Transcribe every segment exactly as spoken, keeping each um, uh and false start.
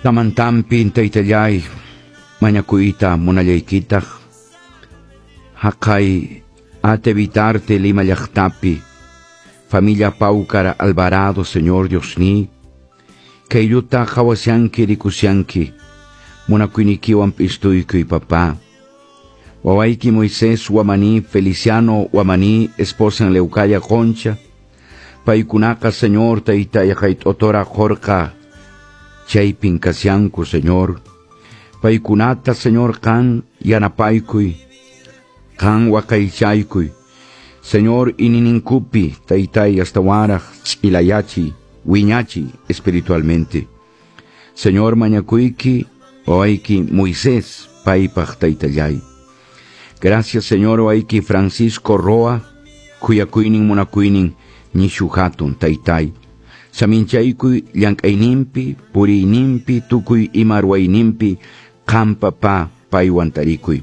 Tutamantampi taytallay mañakuyta munallaykitaq haqay Ate Vitarte Lima llaqtapi familia Paucar Alvarado Señor Diosniy kaylluta qhawashanki rikushanki munakuynikiwan p'istuykuy papá Wawayki Moisés Wamani Feliciano Wamani esposa en Leucaya Concha paykunaqa Señor taytay hayt'otora qurqa chaypin kashanku Señor paykunata Señor qan yanapaykuy qan waqaychaykuy Señor iñiyninkupi taytay astawanraq ch'ilayachiy wiñachiy espiritualmente Señor mañakuyki wawayki Moisés paypaq taytallay Gracias Señor wawayki Francisco Roa khuyakuynin munakuynin nishu hatun taytay saminchaykuy llank'ayninpi puriyninpi tukuy ima ruwayninpi qan papá paywan tarikuy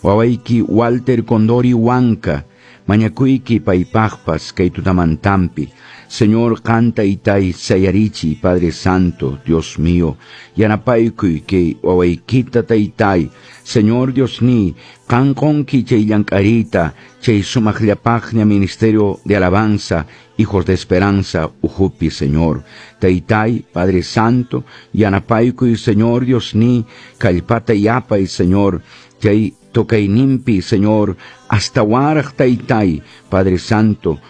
wawayki Walter Condori Huanca mañakuyki paypaqpas kay tutamantampi Señor qan taytay sayarichiy Padre Santo Dios mío yanapaykuy kay wawaykita taytay Señor Diosniy qan qonki chay llank'ariyta chay sumaqllapaqña Ministerio de Alabanza Hijos de Esperanza ukhupi Señor Taytay Padre Santo yanapaykuy Señor Diosniy kallpata yapay Señor chay tocayninpi Señor astawanraq taytay Padre Santo